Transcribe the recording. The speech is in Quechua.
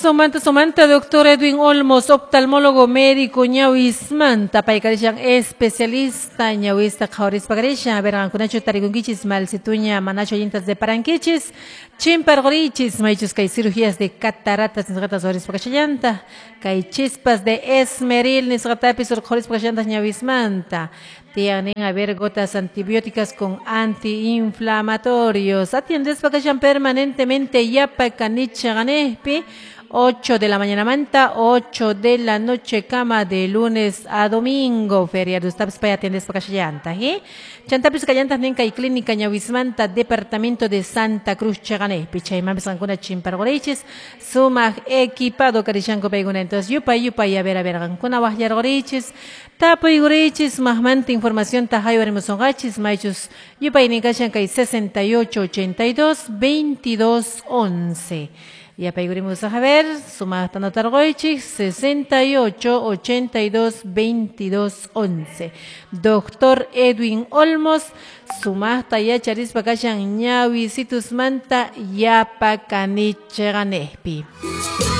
Sumanta, sumanta, doctor Edwin Olmos, oftalmólogo médico ñawismanta, paykarishan especialista ñawista qhawarispa karishan. A ver, qankunachu tarikunkichis malsituña manachu allintas deparankichis, chimparqurichis, maychus kay cirugías de cataratas nisqatas ruwarispa kashallanta, kay chispas de esmeril nisqatapis urqhurispa kashallantas ñawismanta. Tienen a ver gotas antibióticas con antiinflamatorios. Atiendespa kashan permanentemente yapa kanichaqanejpi 8 de la mañana manta, 8 de la noche cama de lunes a domingo. Feriado estapis pay atiendespa kashallanta, ¿eh? Chantapis kallantas ninka y clínica ñawismanta departamento de Santa Cruz chaqanejpi. Chaymanpis qankuna chimparqurichis sumaq equipado karishanku paykuna. Entonces yupay yupay a ver qankuna waqllarqurichis tapuykurichis maqmanta información haywarimusunqachis maychus yupaynin kashan kay 68 82 22 11. Yapaykurimos a ver, sumaqta anotarquychik 68 82 22 11. Doctor Edwin Olmos, sumaqta yacharispa kashan ñawisitusmanta yapa kanichaqanejpi.